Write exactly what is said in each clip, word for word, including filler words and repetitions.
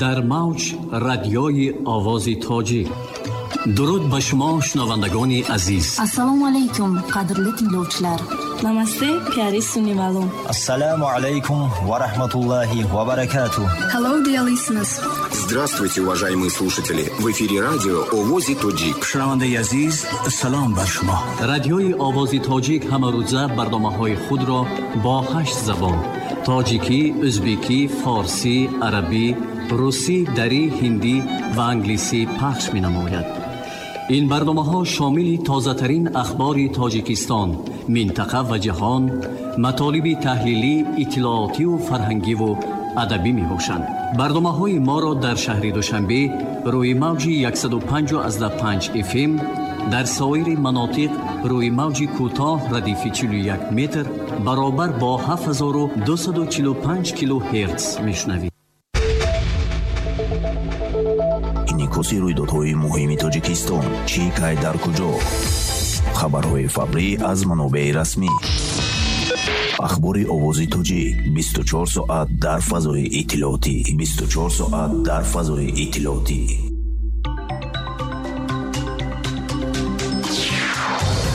Дар мавҷ радиои Овози Тоҷик. Дуруд ба шумо, шунавандагони азиз. Assalomu alaykum, qadrli tinglovchilar. Namaste, pyari sunivalo. Assalomu alaykum va rahmatullohi va barakatuh. Hello, dear listeners. Здравствуйте, уважаемые слушатели. В эфире радио Овози Тоҷик. Шунавандаи азиз, салом бар шумо. Радиои Овози Тоҷик ҳамарӯза барномаҳои худро бо ҳашт забон: тоҷикӣ, ӯзбекӣ, форсӣ, арабӣ, русӣ, дарӣ, ҳиндӣ ва англисӣ пахш менамояд. Ин барномаҳо шомили тозатарин ахбори Тоҷикистон, минтақа ва ҷаҳон, матолиби таҳлилӣ, иттилоотиву фарҳангиву адабӣ мебошанд. Барномаҳои моро дар шаҳри Душанбе рӯи мавҷи яксаду панҷ эф эм, дар соири манотиқ рӯи мавҷи кӯтоҳ радифи чилу як метр баробар бо ҳафт ҳазору дусаду чилу панҷ килогерц мешунавед. Инъикоси рӯйдодҳои муҳими Тоҷикистон, чӣ, кай, дар куҷо? Хабарҳои фаврӣ аз манобеи расмӣ. Ахбори Овози Тоҷик бисту чор соат дар фазои иттилоотӣ. бисту чор соат дар фазои иттилоотӣ.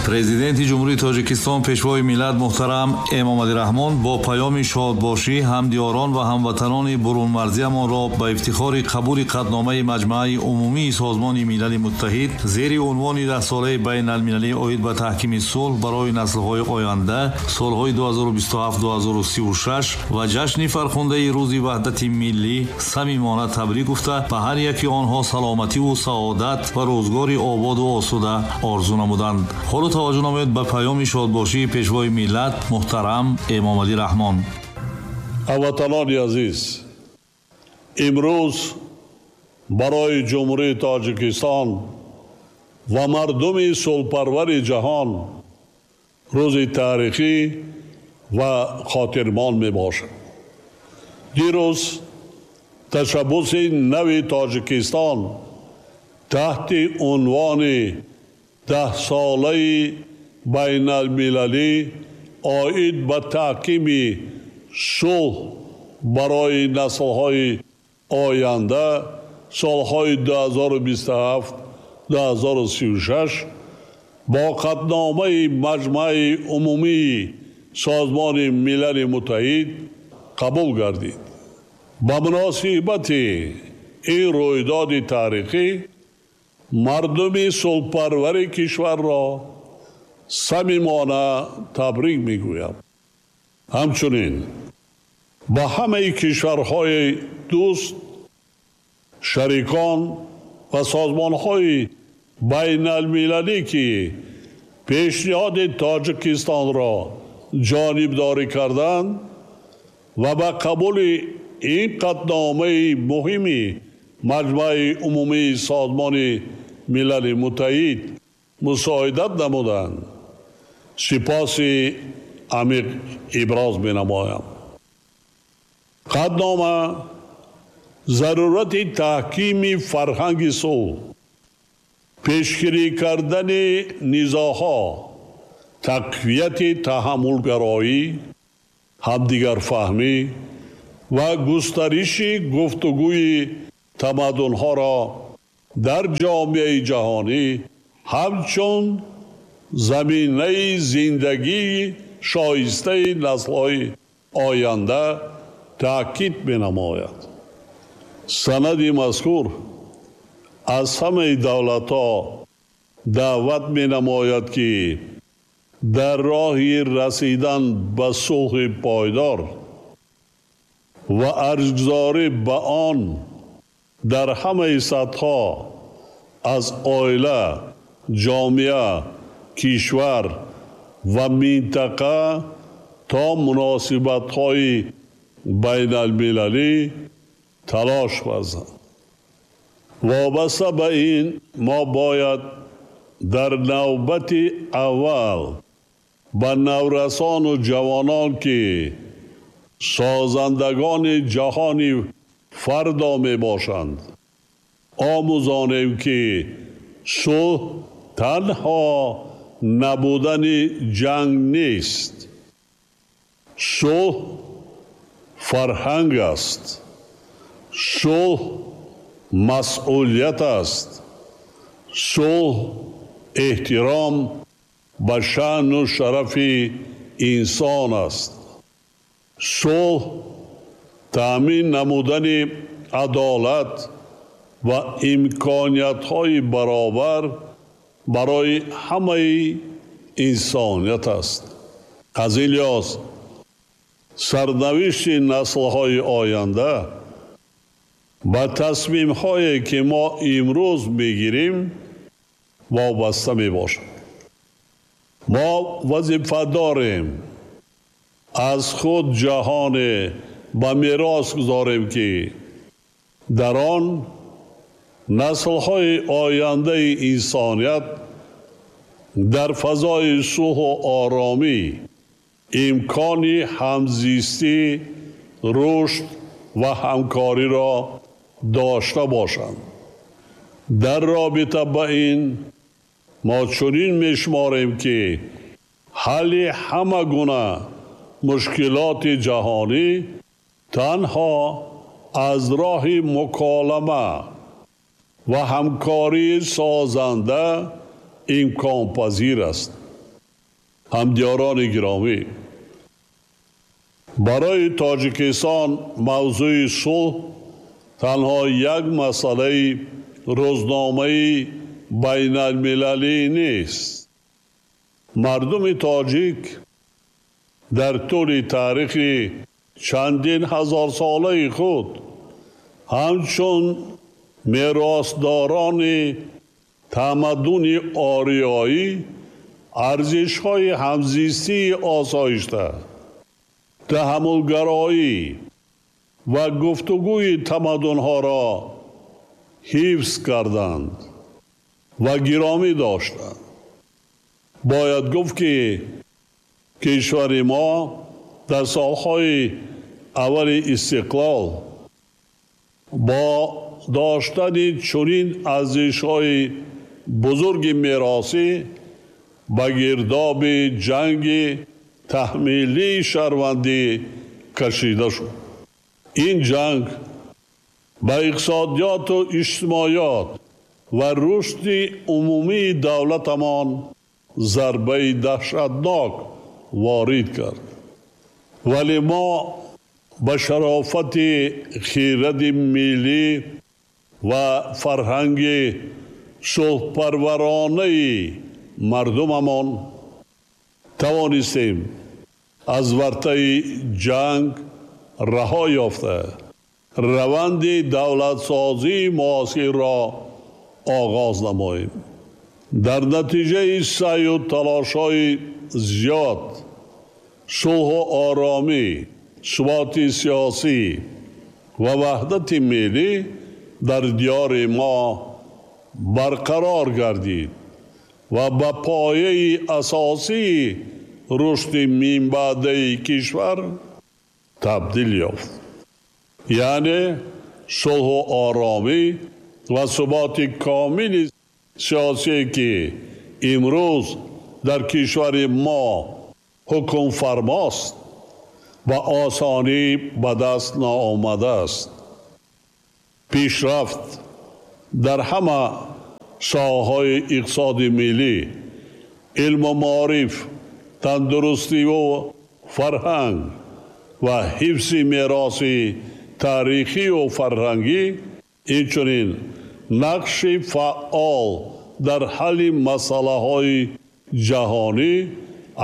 Президенти Ҷумҳурии Тоҷикистон, Пешвои миллат муҳтарам Эмомалӣ Раҳмон бо паёми шодбошӣ ҳамдиёрон ва ҳамватанони бурунмарзиямонро ба ифтихори қабули қатъномаи Маҷмааи Умумии Созмони Милали Муттаҳид зери унвони даҳсолаи байналмилалӣ оид ба таҳкими сулҳ барои наслҳои оянда солҳои ду ҳазору бисту ҳафт ду ҳазору сию шаш ва ҷашни фархундаи Рӯзи Ваҳдати Миллӣ самимона табрик гуфта, ба ҳар яки онҳо саломативу саодат ва рӯзгори ободу осуда орзу намуданд. Ҳоло таваҷҷӯҳ намоед ба паёми шодбошии Пешвои миллат муҳтарам Эмомалӣ Раҳмон. Ҳамватанони азиз, имрӯз барои Ҷумҳурии Тоҷикистон ва мардуми сулҳпарвари ҷаҳон рӯзи таърихӣ ва хотирмон мебошад. Дирӯз ташаббуси нави Тоҷикистон таҳти унвони даҳсолаи байналмилалӣ оид ба таҳкими сулҳ барои наслҳои оянда солҳои ду ҳазору бисту ҳафт ду ҳазору сию шаш бо қатъномаи Маҷмааи Умумии Созмони Милали Муттаҳид қабул гардид. Ба муносибати ин рӯйдоди таърихӣ мардуми сулҳпарвари кишварро самимона табрик мегӯям. Ҳамчунин ба ҳамаи кишварҳои дӯст, шарикон ва созмонҳои байналмилалӣ, ки пешниҳоди Тоҷикистонро ҷонибдорӣ карданд ва ба қабули ин қатъномаи муҳими Маҷмааи Умумии Созмони Милали Муттаҳид мусоидат намуданд, сипоси амиқ иброз менамоям. Қатънома зарурати таҳкими фарҳанги сулҳ, пешгирӣ кардани низоъҳо, тақвияти таҳаммулгароӣ, ҳамдигарфаҳмӣ ва густариши гуфтугӯи тамаддунҳоро дар ҷомеаи ҷаҳонӣ ҳамчун заминаи зиндагии шоистаи наслҳои оянда таъкид менамояд. Санади мазкур аз ҳамаи давлатҳо даъват менамояд, ки дар роҳи расидан ба сулҳи пойдор ва арҷгузорӣ ба он дар ҳамаи сатҳҳо аз оила, ҷомеа, кишвар ва минтақа то муносибатҳои байналмилалӣ талош варзанд. Вобаста ба ин мо бояд дар навбати аввал ба наврасону ҷавонон, ки созандагони ҷаҳони фардо мебошанд, омӯзонем, ки сулҳ танҳо набудани ҷанг нест. Сулҳ фарҳанг аст. Сулҳ масъулият аст. Сулҳ эҳтиром ба шаъну шарафи инсон аст. Сулҳ таъмин намудани адолат ва имкониятҳои баробар барои ҳамаи инсоният аст. Аз ин лиҳоз сарнавишти наслҳои оянда ба тасмимҳое ки мо имрӯз мегирем вобаста мебошад. Мо вазифа дорем аз худ ҷаҳоне ба мерос гузорем ки дар он наслҳои ояндаи инсоният дар фазои сулҳу оромӣ имкони ҳамзистӣ, рушд ва ҳамкориро дошта бошанд. Дар робита ба ин мо чунин мешуморем ки ҳалли ҳама гуна мушкилоти ҷаҳонӣ танҳо аз роҳи муколама ва ҳамкории созанда имконпазир аст. Ҳамдиёрони гиромӣ, барои Тоҷикистон мавзӯи сулҳ танҳо як масъалаи рӯзномаи байналмилалӣ нест. Мардуми тоҷик дар тӯли таърихи чандин ҳазорсолаи худ ҳамчун меросдорони тамаддуни ориёӣ арзишҳои ҳамзистии осоишта, таҳаммулгароӣ ва гуфтугӯи тамаддунҳоро ҳифз карданд ва гиромӣ доштанд. Бояд гуфт ки кишвари мо дар солҳои аввали истиқлол бо доштани чунин арзишҳои бузурги меросӣ ба гирдоби ҷанги таҳмилии шаҳрвандӣ кашида шуд. Ин ҷанг ба иқтисодиёту иҷтимоиёт ва рушди умумии давлатамон зарбаи даҳшатнок ворид кард. Вале мо ба шарофати хиради миллӣ ва фарҳанги сулҳпарваронаи мардумамон тавонистем аз вартаи ҷанг раҳо ёфта раванди давлатсозии муосирро оғоз намоем. Дар натиҷаи саъю талошҳои зиёд сулҳу оромӣ, суботи сиёсӣ ва ваҳдати миллӣ дар диёри мо барқарор гардид ва ба пояи асосии рушди минбаъдаи кишвар табдил ёфт. Яъне сулҳу оромӣ ва суботи комили сиёсие ки имрӯз дар кишвари мо ҳукмфармост ба осонӣ ба даст наомадааст. Пешрафт дар ҳама соҳаҳои иқтисоди миллӣ, илму маориф, тандурустиву фарҳанг ва ҳифзи мероси таърихию фарҳангӣ, инчунин нақши фаъол дар ҳалли масъалаҳои ҷаҳонӣ,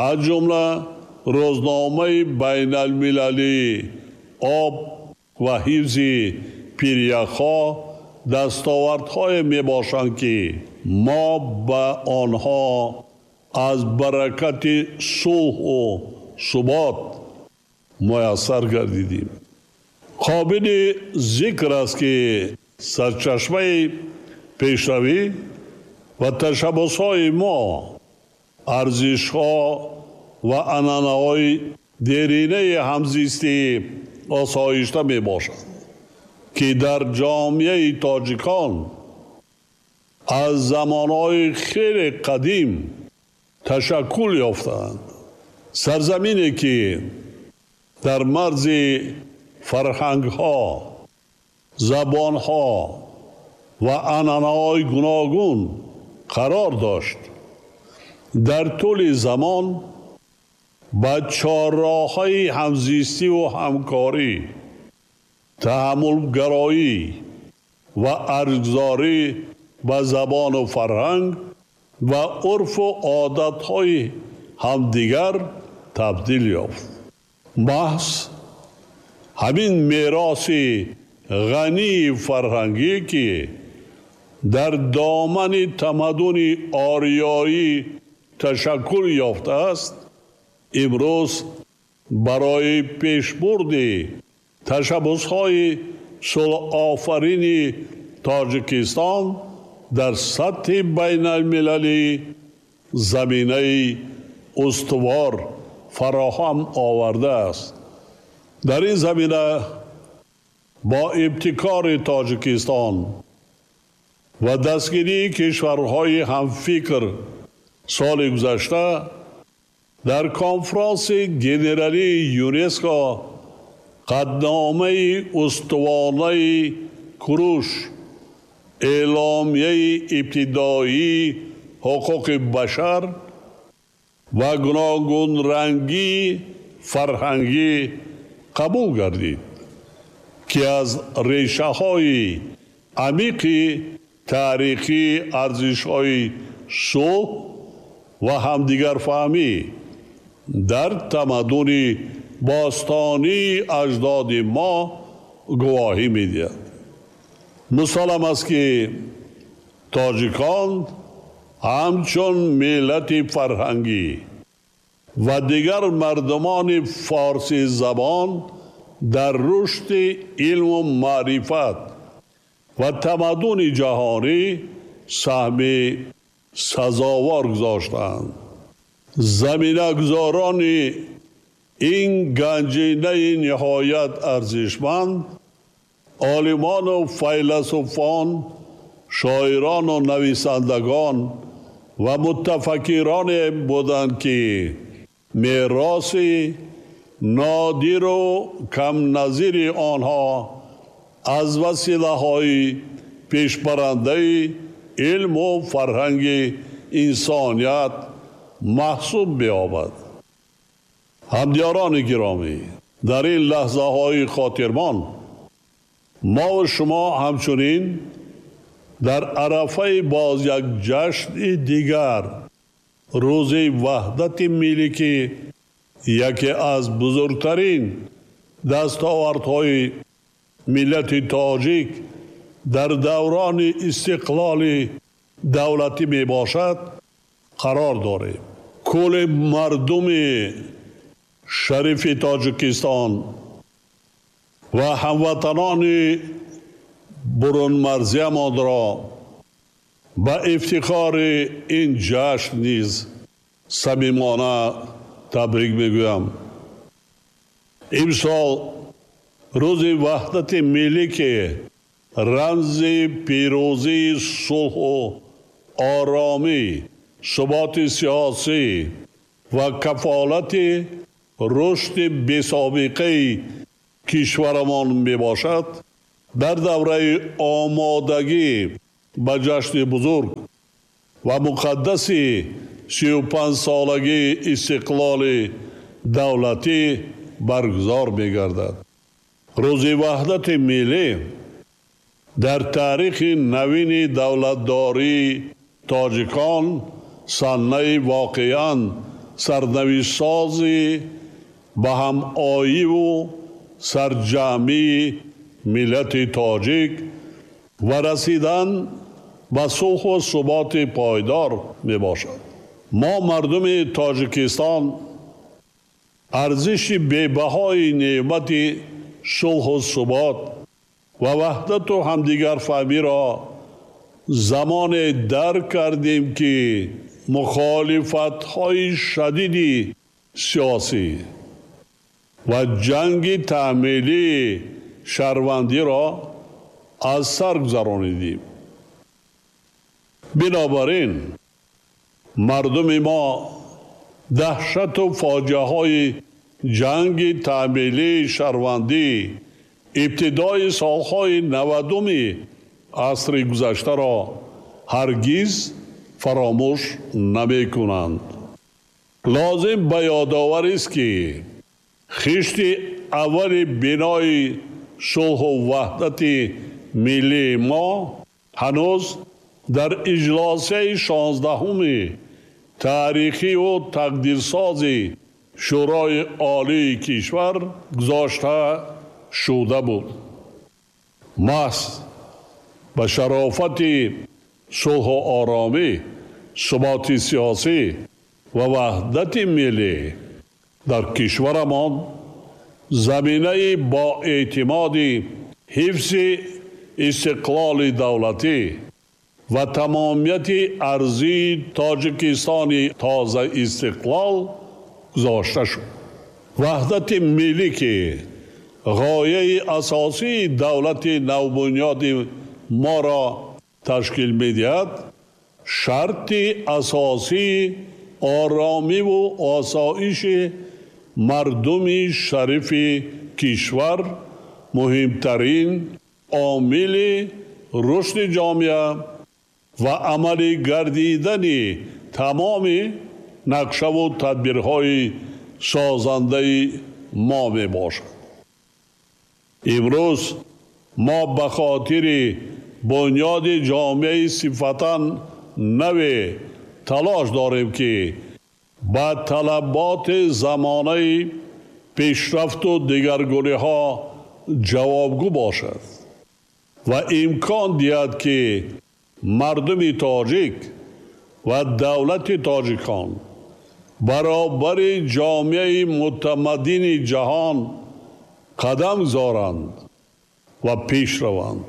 аз ҷумла рӯзномаи байналмилалии об ва ҳифзи пиряхҳо дастовардҳое мебошанд ки мо ба онҳо аз баракати сулҳу субот муяссар гардидем. Қобили зикр аст ки сарчашмаи пешравӣ ва ташаббусҳои мо арзишҳо ва анъанаҳои деринаи ҳамзистии осоишта мебошанд ки дар ҷомеаи тоҷикон аз замонҳои хеле қадим ташаккул ёфтаанд. Сарзамине ки дар марзи фарҳангҳо, забонҳо ва анъанаҳои гуногун қарор дошт, дар тӯли замон ба чорроҳҳои ҳамзистиву ҳамкорӣ, таҳаммулгароӣ ва арҷгузорӣ ба забону фарҳанг ва урфу одатҳои ҳамдигар табдил ёфт. Маҳз ҳамин мероси ғании фарҳангӣ, ки дар домани тамаддуни ориёӣ ташаккул ёфтааст, имрӯз барои пешбурди ташаббусҳои сулҳофарини Тоҷикистон дар сатҳи байналмилалӣ заминаи устувор фароҳам овардааст. Дар ин замина бо ибтикори Тоҷикистон ва дастгирии кишварҳои ҳамфикр соли гузашта дар конфронси генералии ЮНЕСКО қатъномаи устувонаи Куруш, эъломияи ибтидоии ҳуқуқи башар ва гуногунрангии фарҳангӣ қабул гардид, ки аз решаҳои амиқи таърихии арзишҳои сулҳ ва ҳамдигарфаҳмӣ дар тамаддуни бостонии аҷдоди мо гувоҳӣ медиҳад. Мусаллам аст, ки тоҷикон ҳамчун миллати фарҳангӣ ва дигар мардумони форсизабон дар рушди илму маърифат ва тамаддуни ҷаҳонӣ саҳми сазовор гузоштаанд. Заминагузорони ин ганҷинаи ниҳоят арзишманд олимону файласуфон, шоирону нависандагон ва мутафаккироне буданд, ки мероси нодиру камназири онҳо аз василаҳои пешбарандаи илму фарҳанги инсоният маҳсуб меёбад. Ҳамдиёрони гиромӣ, дар ин лаҳзаҳои хотирмон мо ва шумо ҳамчунин дар арафаи боз як ҷашни дигар, рӯзи ваҳдати миллӣ, ки яке аз бузургтарин дастовардҳои миллати тоҷик дар даврони истиқлоли давлатӣ мебошад, қарор дорем. Кулли мардуми шарифи Тоҷикистон ва ҳамватанони бурунмарзиямонро ба ифтихори ин ҷашн низ самимона табрик мегӯям. Имсол рӯзи ваҳдати миллӣ, ки рамзи пирӯзии сулҳу оромӣ, суботи сиёсӣ ва кафолати рушди бесобиқаи кишварамон мебошад, дар давраи омодагӣ ба ҷашни бузург ва муқаддаси сию панҷсолагии истиқлоли давлатӣ баргузор мегардад. Рӯзи ваҳдати миллӣ дар таърихи навини давлатдории тоҷикон саннаи воқеан сарнавиштсози ба ҳамоиву сарҷамъии миллати тоҷик ва расидан ба сулҳу суботи пойдор мебошад. Мо мардуми Тоҷикистон арзиши бебаҳои неъмати сулҳу субот ва ваҳдату ҳамдигарфаҳмиро замоне дарк кардем, ки мухолифатҳои шадиди сиёсӣ ва ҷанги таъмилии шаҳрвандиро аз сар гузаронидем. Бинобар ин мардуми мо даҳшату фоҷиаҳои ҷанги таъмилии шаҳрвандӣ, ибтидои солҳои навадуми асри гузаштаро ҳаргиз фаромӯш намекунанд. Лозим ба ёдоварист, ки хишти аввали бинои сулҳу ваҳдати миллии мо ҳанӯз дар иҷлосияи шонздаҳуми таърихиву тақдирсози Шӯрои Олии кишвар гузошта шуда буд. Маҳз ба шарофати сулҳу оромӣ, суботи сиёсӣ ва ваҳдати миллӣ дар кишварамон заминаи боэътимоди ҳифзи истиқлоли давлатӣ ва тамомияти арзии Тоҷикистони тозаистиқлол гузошта шуд. Ваҳдати миллӣ, ки ғояи асосии давлати навбунёди моро ташкил медиҳад, шарти асосии оромиву осоиши мардуми шарифи кишвар, муҳимтарин омили рушди ҷомеа ва амалӣ гардидани тамоми нақшаву тадбирҳои созандаи мо мебошад. Имрӯз мо ба хотири бунёди ҷомеаи сифатан наве талош дорем, ки ба талаботи замонаи пешрафту дигаргуниҳо ҷавобгӯ бошад ва имкон диҳад, ки мардуми тоҷик ва давлати тоҷикон баробари ҷомеаи мутамаддини ҷаҳон қадам гузоранд ва пеш раванд.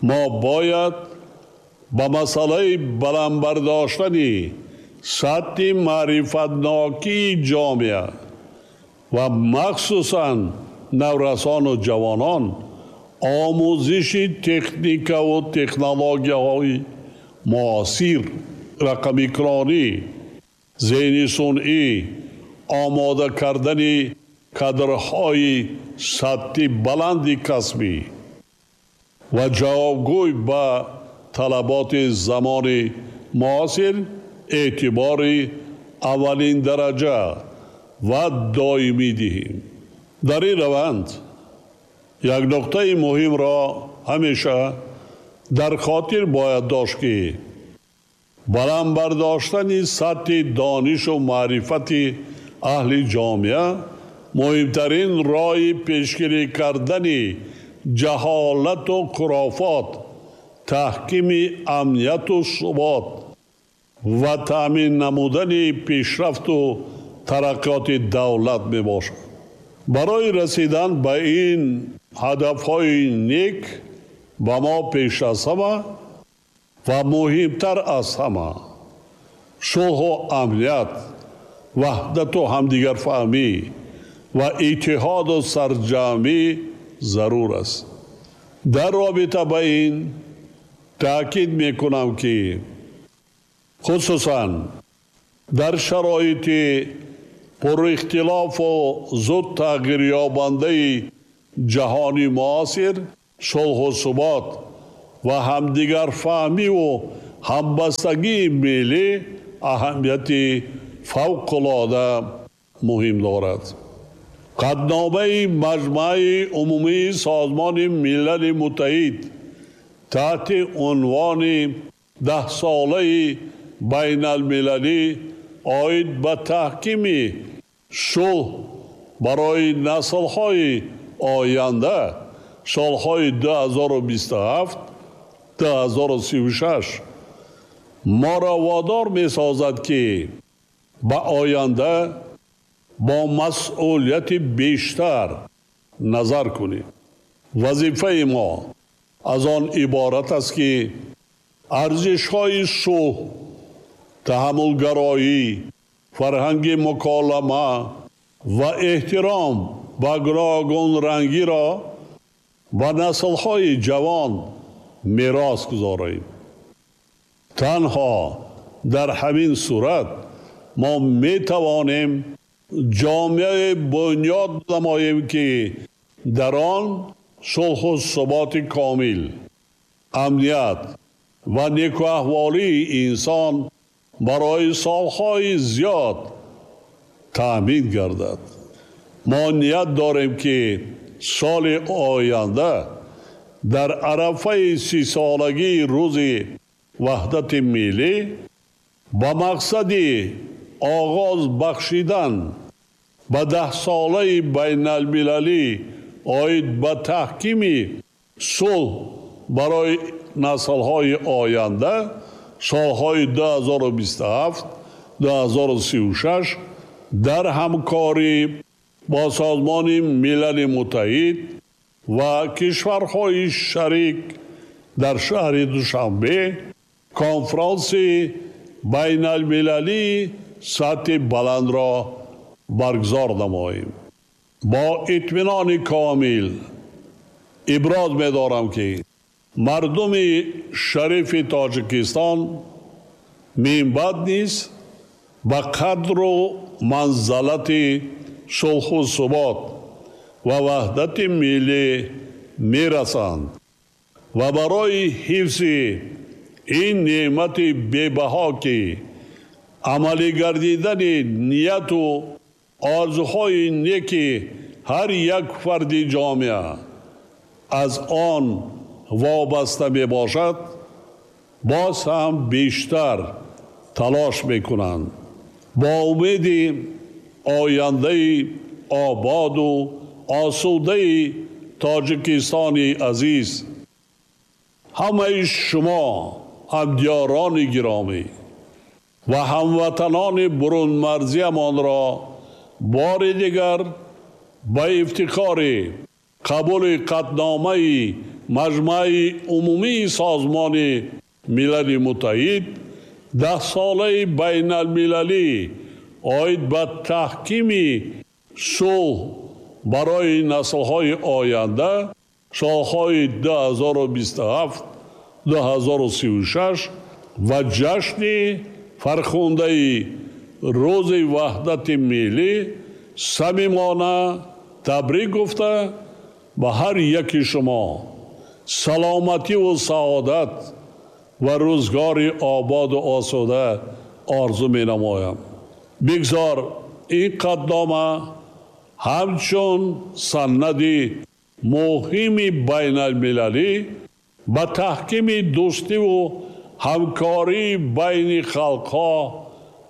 Мо бояд ба масъалаи баланд бардоштани сатҳи маърифатнокии ҷомеа ва махсусан наврасону ҷавонон омӯзиши техникаву технологияҳои муосир, рақамикронӣ, зеҳни сунъӣ, омода кардани кадрҳои сатҳи баланди касбӣ ва ҷавобгӯй ба талаботи замони муосир эътибори аввалин дараҷа ва доимӣ диҳем. Дар ин раванд як нуқтаи муҳимро ҳамеша дар хотир бояд дошт, ки баланд бардоштани сатҳи донишу маърифати аҳли ҷомеа муҳимтарин роҳи пешгирӣ кардани ҷаҳолату хурофот, таҳкими амнияту субот ва таъмин намудани пешрафту тараққиёти давлат мебошад. Барои расидан ба ин ҳадафҳои нек ба мо пеш аз ҳама ва муҳимтар аз ҳама сулҳу амният, ваҳдату ҳамдигарфаҳмӣ ва иттиҳоду сарҷамъӣ зарур аст. Дар робита ба ин таъкид мекунам, ки хусусан дар шароити пурихтилофу зуд тағйирёбандаи ҷаҳони муосир, сулҳу субот ва ҳамдигарфаҳмиву ҳамбастагии миллӣ аҳамияти фавқулода муҳим дорад. Қатъномаи Маҷмаи Умумии Созмони Милали Муттаҳид таҳти унвони даҳсолаи байналмилалӣ оид ба таҳкими сулҳ барои наслҳои оянда солҳои ду ҳазору бисту ҳафт ду ҳазору сию шаш моро водор месозад, ки ба оянда бо масъулияти бештар назар кунем. Вазифаи мо аз он иборат аст, ки арзишҳои сулҳ, таҳаммулгароӣ, фарҳанги муколама ва эҳтиром ба гуногунрангиро ба наслҳои ҷавон мерос гузорем. Танҳо дар ҳамин сурат мо метавонем ҷомеаи бунёд намоем, ки дар он сулҳу суботи комил, амният ва некуаҳволии инсон барои солҳои зиёд таъмин гардад. Мо ният дорем, ки соли оянда дар арафаи сисолагии рӯзи ваҳдати миллӣ ба мақсади оғоз бахшидан ба даҳсолаи байналмилалӣ оид ба таҳкими сулҳ барои наслҳои оянда солҳои ду ҳазору бисту ҳафт ду ҳазору сию шаш дар ҳамкорӣ бо Созмони Милали Муттаҳид ва кишварҳои шарик дар шаҳри Душанбе конфронси байналмилалии сатҳи баландро баргузор намоем. Бо итминони комил иброз медорам, ки мардуми шарифи Тоҷикистон минбаъд низ ба қадру манзалати сулҳу субот ва ваҳдати миллӣ мерасанд ва барои ҳифзи ин неъмати бебаҳо, ки амалӣ гардидани нияту орзуҳои неки ҳар як фарди ҷомеа аз он вобаста мебошад, боз ҳам бештар талош мекунанд. Бо умеди ояндаи ободу осудаи Тоҷикистони азиз, ҳамаи шумо ҳамдиёрони гиромӣ ва ҳамватанони бурунмарзиямонро бори дигар ба ифтихори қабули қатъномаи Маҷмаи Умумии Созмони Милали Муттаҳид даҳсолаи байналмилалӣ оид ба таҳкими сулҳ барои наслҳои оянда солҳои ду ҳазору бисту ҳафт ду ҳазору сию шаш ва ҷашни фархундаи рӯзи ваҳдати миллӣ самимона табрик гуфта ба ҳар яки шумо саломативу саодат ва рӯзгори ободу осуда орзу менамоям. Бигзор ин қатънома ҳамчун санади муҳими байналмилалӣ ба таҳкими дӯстиву ҳамкории байни халқҳо,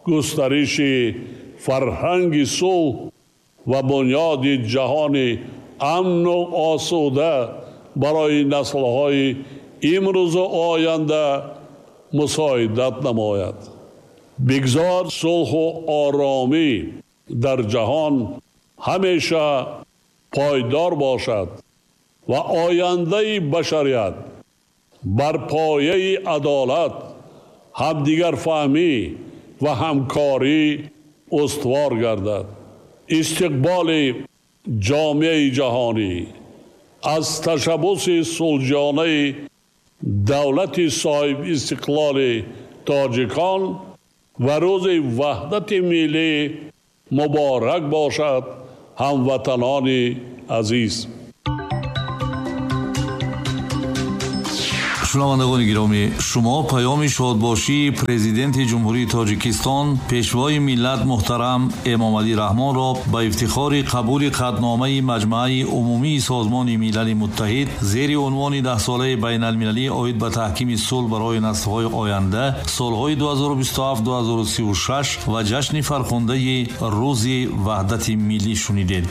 густариши фарҳанги сулҳ ва бунёди ҷаҳони амну осуда барои наслҳои имрӯзу оянда мусоидат намояд. Бигзор сулҳу оромӣ дар ҷаҳон ҳамеша пойдор бошад ва ояндаи башарият бар пояи адолат, ҳамдигарфаҳмӣ ва ҳамкорӣ устувор гардад. Истиқболи ҷомеаи ҷаҳонӣ аз ташаббуси сулҳҷонаи давлати соҳибистиқлоли тоҷикон ва рӯзи ваҳдати миллӣ муборак бошад, ҳамватанони азиз. Шунавандагони гиромӣ, шумо паёми шодбошии президенти Ҷумҳурии Тоҷикистон, пешвои миллат муҳтарам Эмомалӣ Раҳмонро ба ифтихори қабули қатъномаи Маҷмаи Умумии Созмони Милали Муттаҳид зери унвони даҳсолаи байналмилалӣ оид ба таҳкими сулҳ барои наслҳои оянда солҳои ду ҳазору бисту ҳафт ду ҳазору сию шаш ва ҷашни фархундаи рӯзи ваҳдати миллӣ шунидед.